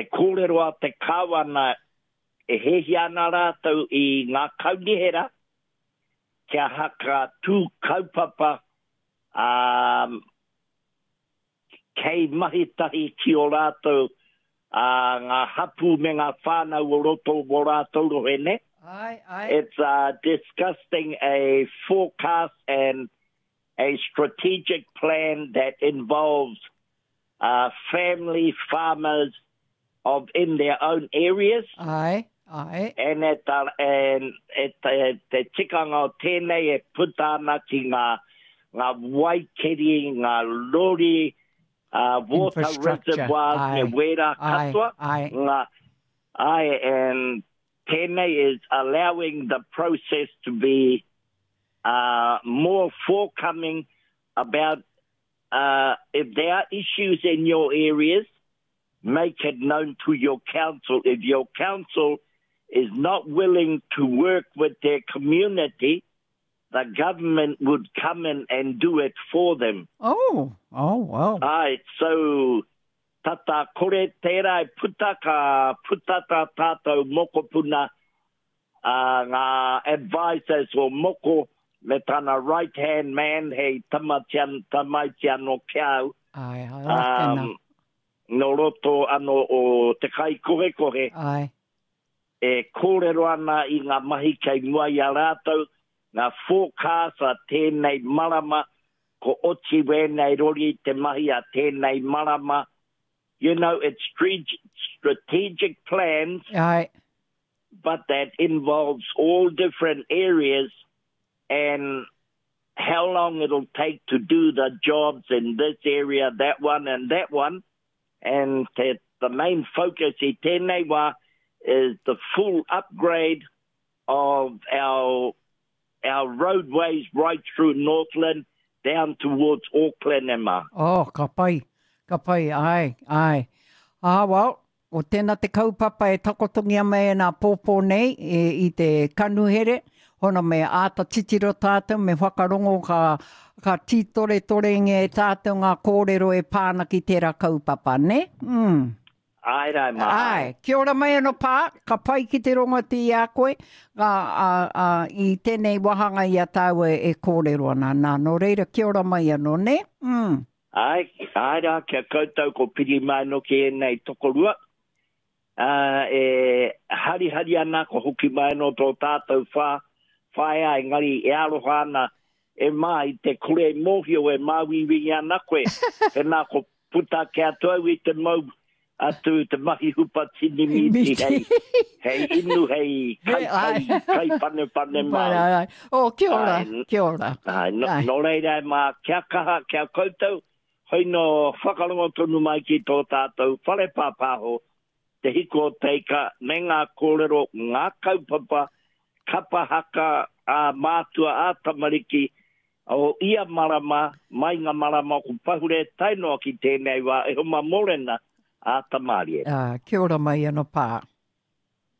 Te kōrero a te Kāwana e hiahia ana rātou i ngā kaunihera kia haka tū kaupapa ā, kei mahi tahi ki ō rātou ā, ngā hapū me ngā whānau o roto o wō rātou rohe, nē? Āe, āe. It's uh, disgusting a forecast and a strategic plan that involves uh, family farmers of in their own areas. Āe, āe. And at the, and at the, te tikanga o tēnei e puta ana ki ngā, ngā waikeri, ngā lori, uh, water reservoirs me wērā katoa. Āe, āe. Ngā, āe, and tēnei is allowing the process to be uh, more forthcoming about uh, if there are issues in your areas, make it known to your council. If your council is not willing to work with their community, the government would come in and do it for them. Oh, oh, well. Ai, so tata kore tērā e puta, ka puta tā tātou mokopuna, uh, ngā advisors o Moko me tana right hand man hei tamatian, tamaiti anō ki a au. Ai, ai, um, nō roto anō o te kaikohekohe. Ai. E kōrero ana i ngā mahi kei mua i a rātou, ngā forecast a tēnei marama, ko oti wēnei rori te mahi a tēnei marama. You know, it's strategic plans. Ai. But that involves all different areas and how long it'll take to do the jobs in this area, that one and that one. And te, the main focus i tēnei wā is the full upgrade of our, our roadways right through Northland down towards Auckland e mā. Oh, ka pai, ka pai, ai, ai. Ah, well, Ko tena te kaupapa e takotongia mai ana pōpō nei i te kanuhere, hono me āta titiro tātou, me whakarongo ka, ka tītoretorengia e tātou ngā kōrero e pā ana ki tērā kaupapa, nē? Mm. Āe rā, mā. Āe. Kia ora mai anō Pā, ka pai ki te rongo atu i a koe, a, a, a, i tēnei wāhanga i a tāua e kōrero ana. Nā, nō reira, kia ora mai anō, nē? Mm. Āe, āe rā, ki a koutou ko piri mai anō ki ēnei tokorua, ā, e harihari ana ko hoki mai anō tō tātou whā, whaea, engari e aroha ana e Mā i te kore mōhio e māuiui ana koe, tēnā ko puta ake atu au i te mau atu te mahi hupa tini mīti hei, hei inu, hei kai, kai, kai panepane māu. Ai, ai. Oh, kia ora, ai, kia ora. Ai, no, ai. No reira e mā, kia kaha, kia koutou, hoi no whakarongo tonu mai ki tō tātou whare pāpāho, te hiko o te ika, me ngā kōrero, ngā kaupapa, kapa haka, ā mātua, ā tamariki, O ia marama, mai nga marama ko pahure tae noa ki tenei wa e homa morena a Tamarie. Ā, kia ora mai ano Pā.